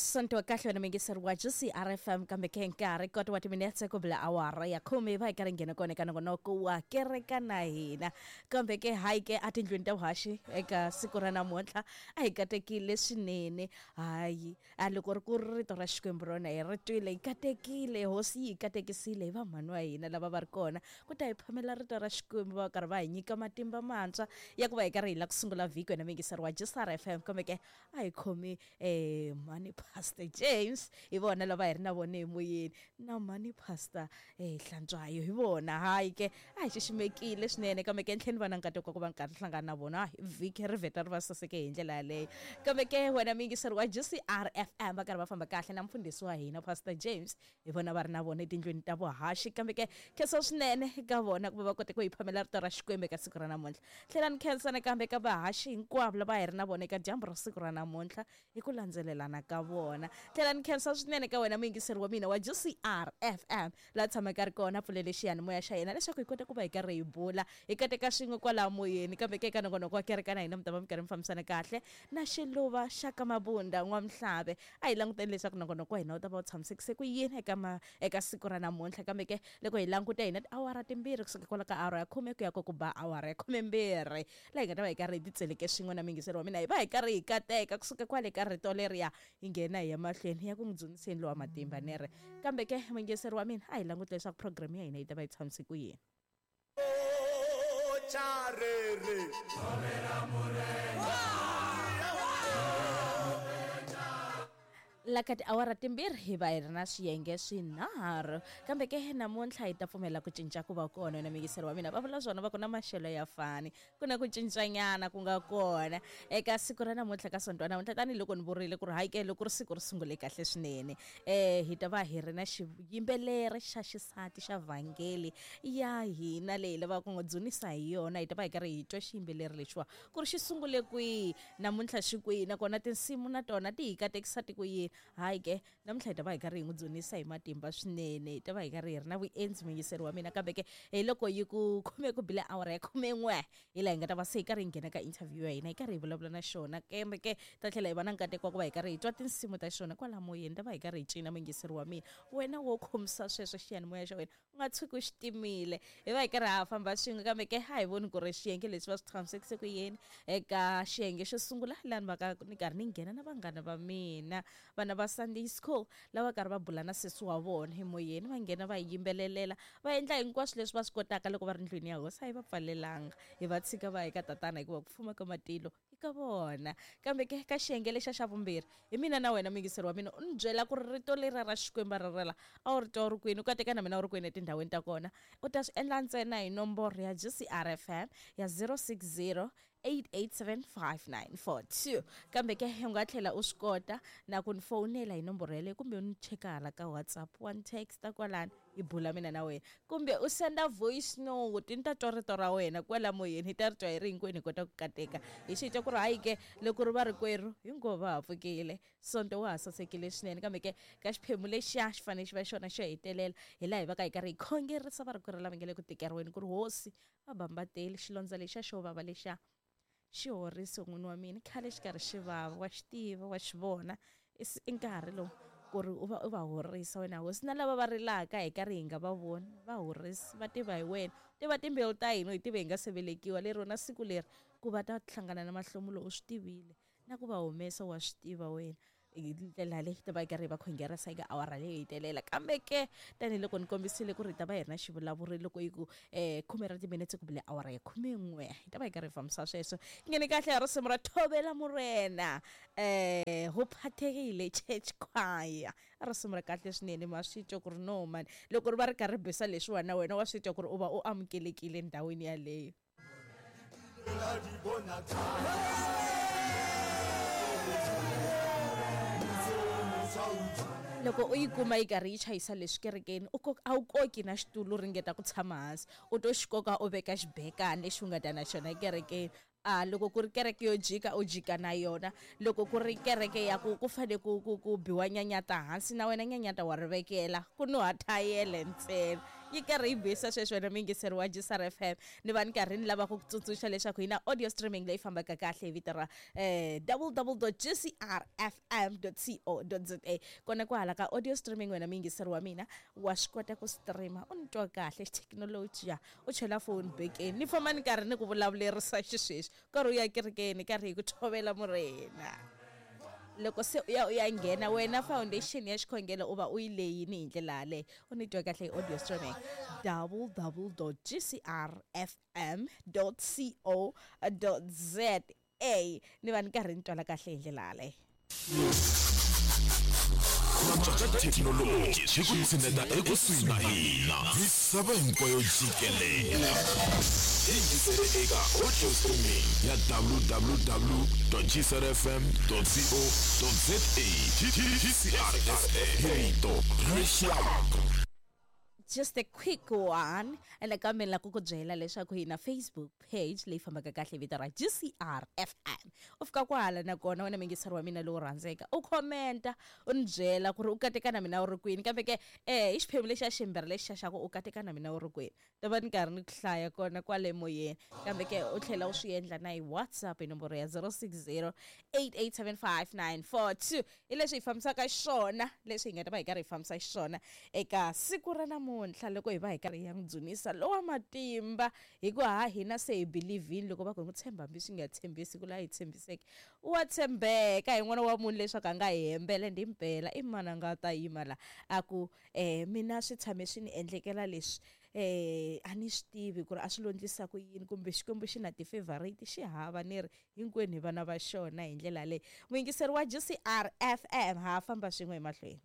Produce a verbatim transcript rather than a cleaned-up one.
Sonto wa kahle wena mingiseri wa G C R F M kambe ke nkarhi kota wa timinetse ku bula awara ya khume va hi karhi nghena kona eka nongonoko wa kereka na hina kambe ke hayi ke etindlwini ta vuhaxi eka siku ra namuntlha a hi katekile swinene hayi a loko ri ku ri rito ra Xikwembu rona hi ri twile hi katekile hosi yi hi katekisile hi vamhani wa hina lava va ri kona ku ta hi phamela rito ra Xikwembu va karhi va hi nyika matimba mantshwa ya ku va hi karhi hi la ku sungula vhiki wena mingiseri wa G C R F M kambe ke a hi khomi eh mhani Pastor James hi vona lava hi ri na vona emoyeni na mhani Pastor eh Hlantswayo hi vona hayi ke a hi xiximekile swinene kambe ke ntlheni va na nkateko ku va nkarhi hlangana na vona vhiki ri vheta ri va saseke hi ndlela yaleyo kambe ke wena mingiseri wa G C R F M va karhi va famba kahle na mfundhisi wa hina Pastor James hi vona va ri na vona etindlwini ta vuhaxi kambe ke khensa swinene ka vona ku va va kote ku hi phamela rito ra Xikwembu eka siku ra namuntlha tlhela ni khensa nakambe ka vahaxi hinkwavo lava hi ri na vona eka dyambu ra siku ra namuntlha hi ku landzelelana ka vona tlhela ni khensa swinene ka wena muyingiseri wa mina wa G C R F M laha tshamaka ri kona pfulele xiyanimoya xa yena leswaku hi kota ku va hi karhi hi bula hi kateka swin'we kwalaho moyeni kambe ke eka nongonoko wa kereka na hina mi ta va mi karhi mi fambisana kahle na xiluva xa ka Mabunda N'wamhlave a hi languteni leswaku nongonoko wa hina wu ta va wu tshamisekise ku yini eka ma eka siku ra namuntlha kambe ke loko hi languta hina tiawara timbirhi kusuka kwala ka awara ya khume ku ya ko ku ba awara ya khumembirhi laha hi nga ta va hi karhi hi titseleke swin'we na muyingiseri wa mina hi va hi karhi hi kateka kusuka kwale ka rito leriya hi nghena hi ya mahlweni ya ku n'wi dzuniseni lowa matimba nere kambe ke muyingiseri wa mina a hi languti leswaku program ya hina yi ta va yi tshamise ku yini. La ka tiawara timbirhi hi va hi ri na swiyenge swinharhu kambe ke namuntlha hi ta pfumela ku cinca ku va kona na muyingiseri wa mina va vula swona va ku na maxelo ya fani ku na ku cincanyana ku nga kona eka siku ra namuntlha ka sonto wa namuntlha tanihiloko ni vurile ku ri hayi ke loko ri siku ri sungule kahle swinene um hi ta va hi ri na xiyimbeleri xa xisati xa vhangeli ya hina leyi lavaka ku n'wi dzunisa hi yona hi ta va hi karhi hi twa xiyimbeleri lexiwa ku ri xi sungule kwihi namuntlha xi kwihi nakona tinsimu na tona ti hi katekisa ti ku yini hayi ke namuntlha hi ta va hi karhi hi n'wi dzunisa hi matimba swinene hi ta va hi karhi hi ri na vuendzi muyingiseri wa mina kambe ke hi loko yi ku khume ku bile awara ya khumen'we hi laha hi nga ta va se hi karhi hi nghena ka interview ya hina hi karhi hi vulavula na xona kambe ke ta tlhela hi va na nkateko wa ku va hi karhi hi twa tinsimu ta xona kwala moyeni ta va hi karhi hi cina muyingiseri wa mina wena wo khomisa sweswo xiyanimoya xa wena u nga tshuki u xi timile hi va hi karhi ha famba swin'we kambe ke a hi voni ku ri xiyenge leswi va swi tshamisekise ku yini eka xiyenge xo sungula laha ni va ka ni karhi ni nghena na vanghana va mina vana va Sunday school lava karhi va bula na sesi wa vona emoyeni va nghena va yimbelelela va endla hinkwaswo leswi va swi kotaka loko va ri ndlwini ya hosi a hi va pfalelanga hi va tshika va eka tatana hikuva ku fuma ka matilo i ka vona kambe ke ka xiyenge lexa xa vumbirhi hi mina na wena muyingiseri wa mina u ni byela ku ri rito leri ra Xikwembu ra rela a wu ri twa u ri kwini u kateka na mina u ri kwini etindhawini ta kona u ta swi endla ntsena hi nomboro ya G C R F M ya zero six zero eight eight seven five nine four two kambe ke u nga tlhela u swi kota na ku ni fowunela hi nomboro yeleyo kumbe u ni cheka hala ka WhatsApp wa ni texta kwalani hi bula mina na wena kumbe u senda voice note ni ta twa rito ra wena kwala moyeni hi ta ri twa hi ri hinkwenu hi kota ku kateka hi xi twa ku ri hayi ke loko ri va rikwerhu hinkwavo va ha pfukile sonto wa ha sasekile swinene kambe ke ka xiphemu lexiya xi fanele xi va xona xo hetelela hi laha hi va ka hi karhi hi khongerisa varikwerhu lava nge le ku tikeriweni ku ri hosi va bambateli xilondza lexiya xo vava lexiya xi horise n'wini wa mina khale xi karhi xi vava wa xi tiva wa xi vona i nkarhi lowu ku ri u va u va horisa wena hosi na lava va rilaka hi karhi hi nga va voni va horisi va tiva hi wena tiva timbewu ta hina hi tive hi nga se velekiwa lero na siku leri ku va ta hlangana na mahlomulo u swi tivile na ku va humesa wa swi tiva wena hi ndlela leyi ta va hi karhi hi va khongerisa eka awara leyi hetelela kambe ke tanihiloko ni kombisile ku ri hi ta va hi ri na xivulavuri loko yi ku um khume ra timinetse ku bile awara ya khumen'we hi ta va hi karhi hi fambisa sweswo nghene kahle hi risimu ra Thobela Morena um ho phathekile church choir risimu ra kahle swinene ma swi twa ku ri no mani loko ri va ri karhi ri bisa leswiwani na wena wa swi twa ku ri u va u amukelekile ndhawini yaleyo. Loko u yi kuma yi karhi yi chayisa leswi kerekeni u a wu koki na xitulu ringeta ku tshama hansi u to xi koka u veka xibekani lexi u nga ta na xona ekerekeni a loko ku ri kereke yo jika u jika na yona loko ku ri kereke ya ku ku fane ku ku ku biwa nyanyata hansi na wena nyanyata wa ri vekela ku nuha thayele ntsena Yi karhi yi bisa sweswi wena muyingiseri wa G C R F M. Ni va ni karhi ni lava ku ku tsundzuxa leswaku hi na audio streaming leyi fambaka kahle hi vito ra eh, w w w dot g c r f m dot co dot z a. Kona kwahala ka audio streaming wena muyingiseri wa mina wa swi kota ku streama u ni twa kahle xithekinoloji ya u chela phone bekeni ni famba ni karhi ni ku vulavulerisa xisweswi karhi u ya kerekeni karhi hi ku thovela murena. Loko se u ya u ya nghena wena foundation ya xikhongelo u va u yi leyini hi ndlela yaleyo u ni twa kahle hi audio streaming w w dot g c r f m dot co dot z a. Ni va ni karhi ni twala kahle hi ndlela yaleyo. Thekinoloji xi ku tshineta ekusuhi na hina misava hinkwayo jikelele. Yingisele eka audio streaming ya w w w dot g c r f m dot co dot z a. G C R F M hi rito ra rixaka. Just a quick one. Ene kambe ni lava ku ku byela leswaku hi na Facebook page leyi fambaka kahle hi vito ra G C R F M. U fika kwahala nakona wena muyingiseri wa mina lowu rhandzeka u commenta u ni byela ku ri u kateka na mina u ri kwini, kambe ke eh i xiphemu lexi xa ximbirhi lexi xa xa ku u kateka na mina u ri kwini ta va ni karhi ni ku hlaya kona kwale moyeni, kambe ke u tlhela u swi endla na hi WhatsApp hi nomboro ya zero six zero eight eight seven five nine four two. Hi leswi hi fambisaka xiswona leswi hi nga ta va hi karhi hi fambisa xiswona eka siku ra namuntlha loko hi va hi karhi hi ya n'wi dzunisa lowa matimba, hikuva ha hina se hi believe-ini loko va ku hi n'wi tshemba hambi swi nga tshembisi ku laha hi tshembiseke wa tshembeka hi n'wana wa munhu leswaku a nga hi hembele ndi mpela i mani a nga ta yima la a ku eh mina swi tshame swi ni endlekela leswi eh a ni swi tivi ku ri a swi lo ndlisa ku yini kumbe Xikwembu xi na ti-favorite xi hava ni ri hinkwenu hi vana va xona hi ndlela leyi. Muyingiseri wa G C R F M ha famba swin'we emahlweni.